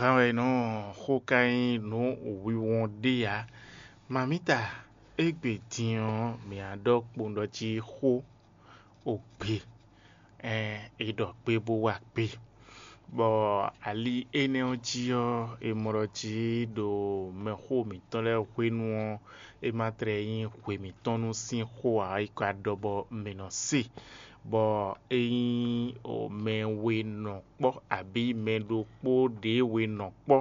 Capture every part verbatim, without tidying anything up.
Gǎn wɛ nɔ xó ka nyí nǔ wíwɔ́n ɖé ǎ. Mamǐta, égbé din ɔ́, mǐ á ɖɔ kpowun ɖɔ jí xó ogbe, ɛn, è ɖɔ gbe bó wa gbe. Bɔ ali énɛ́ ɔ́ jí ɔ́, è mɔ ɖɔ jí ɖo mɛxó mǐtɔn lɛ́ɛ hwenu ɔ́, é ma tlɛ nyí hwe mǐtɔn nú sín xó ǎ, é ka ɖɔ bɔ mǐ nɔ se. Bɔ ényí mɛ we nɔ kpɔ́ abǐ mɛ ɖokpó ɖě we nɔ kpɔ́,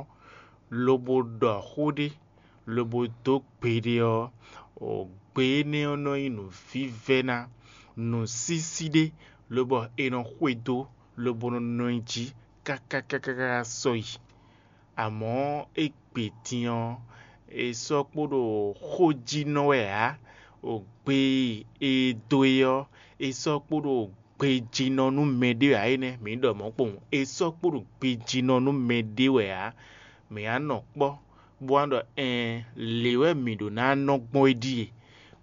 lobo ɖɔ xó ɖé, lobo dó gbe ɖé ɔ́, gbe énɛ́ ɔ́ nɔ nyí nǔvívɛ́ná, nǔsísí ɖé, lobɔ è nɔ xwedó, lobo nɔ nɔ nyi jí káká káká sɔ́yi. Amɔ̌ égbé din ɔ́, è sɔ́ kpo ɖo xó jí nɔ wɛ ǎ. Gbe e è dó e ɔ́, è sɔ́ kpo ɖo gbejínɔ nú mɛɖé ǎ é nɛ́, mǐ ɖɔ mɔ̌ kpowun. È sɔ́ kpo ɖo gbejínɔ nú mɛɖé wɛ ǎ. Mǐ á nɔ kpɔ́, bó wá ɖɔ ɛɛn, lě wɛ mǐ ɖó ná nɔ gbɔn é ɖíe,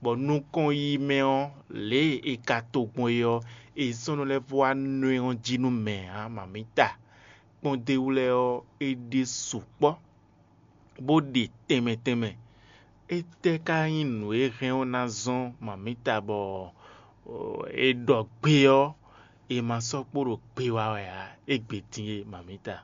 bɔ nukɔn yi mɛ ɔ́, lě e è ka to gbɔn é ɔ́, è sɔ́ nɔ lɛ́ vɔ wá nɔ ɛ ɔ́ jí nú mɛ ǎ, mamǐta. Kpɔ́ndéwú lɛ́ɛ ɔ́, é ɖe sukpɔ́, bó ɖe tɛnmɛ tɛnmɛ. Étɛ́ ka nyí nǔ e hɛn ɔ́ ná zɔ́n mamǐta bɔ è ɖɔ gbe ɔ́, è ma sɔ́ kpo ɖo gbe wa wɛ ǎ, égbé din e mamǐta?